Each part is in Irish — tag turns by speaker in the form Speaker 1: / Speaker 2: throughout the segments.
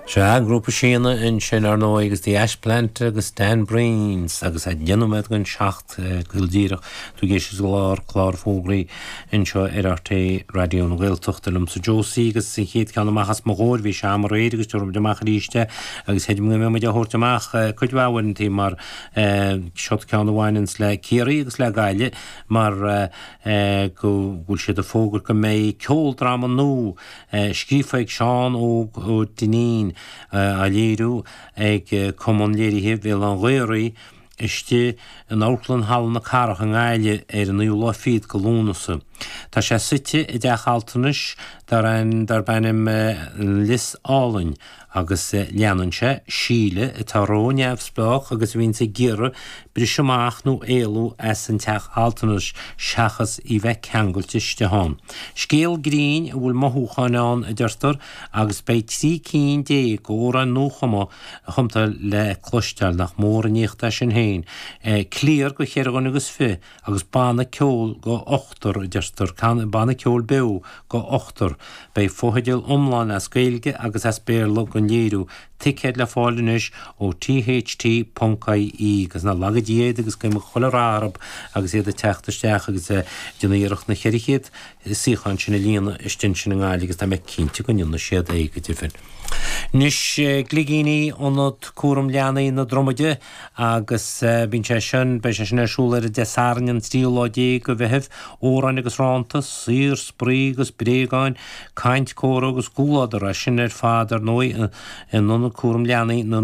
Speaker 1: Sea, an grúpa Síona ansin, ar ndóigh, agus The Ashplant agus Dan Breens agus a 10 nóiméad don 7 go díreach. Tú ag éisteacht le clár fógraí anseo ar RTÉ Raidió na Gaeltachta liomsa Josie agus an chéad ceann amach as mo chomhair bhí sé am aréir agus tabharfaidh muid amach arís é agus chreidim go mbeidh muid á thabhairt amach cuid mhaith uaireantaí mar seo ceann a bhaineanns le Ciarraí agus le Gaillimh mar go bhfuil siad ag fógairt go mbeidh ceoldráma nua Scríofa ag Seán Óg Ó Duinnín, á léiriú ag Cumann Léirithe Bhéal Átha'n Ghaorthaidh istigh in Amharclann Halla na Cathrach i nGaillimh ar an naoú lá fichead de Lúnasa. Tá sé suite i dteach altranais darb ainm An Lios Álainn agus leanann sé Síle atá ró-neamhspleách agus a bhíonns ag iarraidh briseadh amach nó éalú as an teach altranais seachas í bheith ceangailte istigh ann. Scéal grinn a bhfuil mothúcháin ann, a deirtear, agus beidh 13 cinn d'amhráin nuachumtha le cloisteáil, nach mór an éacht é sin féin. Cliar do cheithre dhuine agus fiche agus banna ceoil do ochtar, a deirtear, banna ceoil beo do ochtar. Beidh fotheidil iomlán as Gaeilge agus as Béarla don léiriú, ticéid le fáil anois ó tht ponc ie agus ná laga Dia iad agus guím chuile rath orthu agus iad ag teacht isteach agus ag déanamh iarracht na 400 suíochán sin a líonadh istigh ansin i nGaillimh agus tá mé cinnte go ndéanfaidh siad é go deimhin. Anois, Gligíní Ionad Cúram Leanaí na Dromaide agus bíonn sé sin, beidh sé sin ar siúl ar an Dé Sathairn an tríú lá déag de Mheitheamh, amhráin agus rannta, saorspraoi agus bréagáin, caint, comhrá agus comhluadar, é sin ar fad ar ndóigh in Ionad Cúram Leanaí na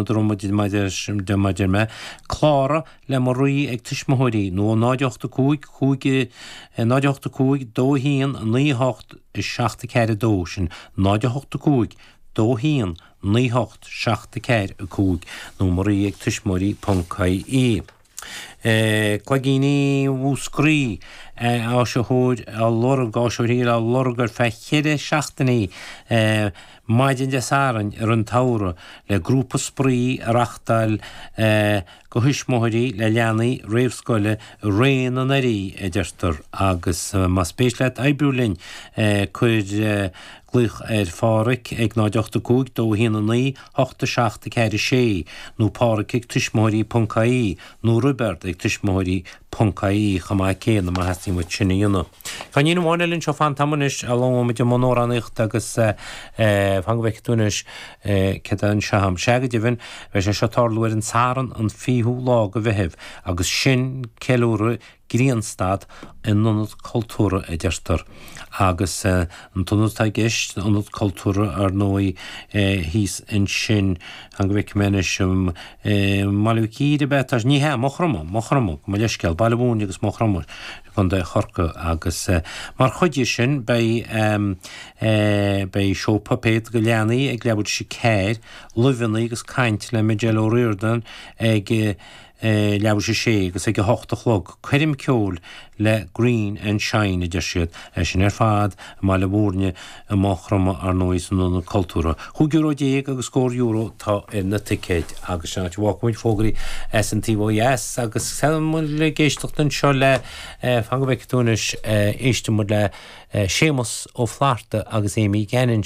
Speaker 1: Dromaide mar a deir mé. Cláraigh le Marie ag Tuismitheoirí nó 0 8 5 5 0 8 5 2 1 9 8 7 4 2, sin 0 8 5 2 1 9 8 7 4 5 nó Marie ag tuismitheoirí ponc ie. Cloigíní Mhúscraí, áisitheoir á lorg, áisitheoirí á lorg ar feadh cheithre seachtainí maidin Dé Sathairn i rith an tsamhraidh le grúpa spraoi a reachtáil do thuismitheoirí le leanaí réamhscoile i ré na n-earraí, a deirtear, agus más spéis leat oibriú linn, cuir glaoch ar Phádhraic ag 0 8 5 2 1 9 8 7 4 6 nó Pádhraic ag tuismitheoirí ponc ie nó Roibeard ag tuismitheoirí ponc ie chomh maith céanna má theastaíonn uait sin a dhéanamh. Ceainnín amháin eile anseo fán t-am anois, a labhróidh muid i mbun amhránaíochta agus fan go bhfeicfidh tú anois céard é anseo agam. Sea go deimhin, beidh sé seo ag tarlú ar an Satharn an 20ú lá de Mheitheamh agus sin ceiliúradh Grianstad in Ionad Cultúrtha a deirtear. Agus an t-ionad atá i gceist, Ionad Cultúrtha ar ndóigh thíos ansin, fan go bhfeicfidh mé anois, i mBaile Mhic Íre ab ea atá sé? Ní hea, Maigh Chromtha, Maigh Chromtha, gabh mo leithscéal, Baile Mhúirne agus Maigh Chromtha, Contae Chorcaí agus mar chuid de sin beidh beidh seó puipéad do leanaí ag leathuair tar éis a ceathair, luibheanna agus caint le Majella O'Riordan ag leathuair tar éis a sé agus ag a hocht a chlog coirm ceoil le Green and Shine a deir siad. É sin ar fad i mBaile Mhúirne i Maigh Chromtha ar ndóigh san Ionad Cultúrtha. Chúig euro déag agus scór euro atá ar na ticéid agus sin áit a bhfágfaidh muid fógraí as an taobh ó dheas agus tá muid ag éisteacht anseo le fan go bhfeicfidh tú anois éistfidh muid le Séamus Ó Flatharta agus Amy Gannon.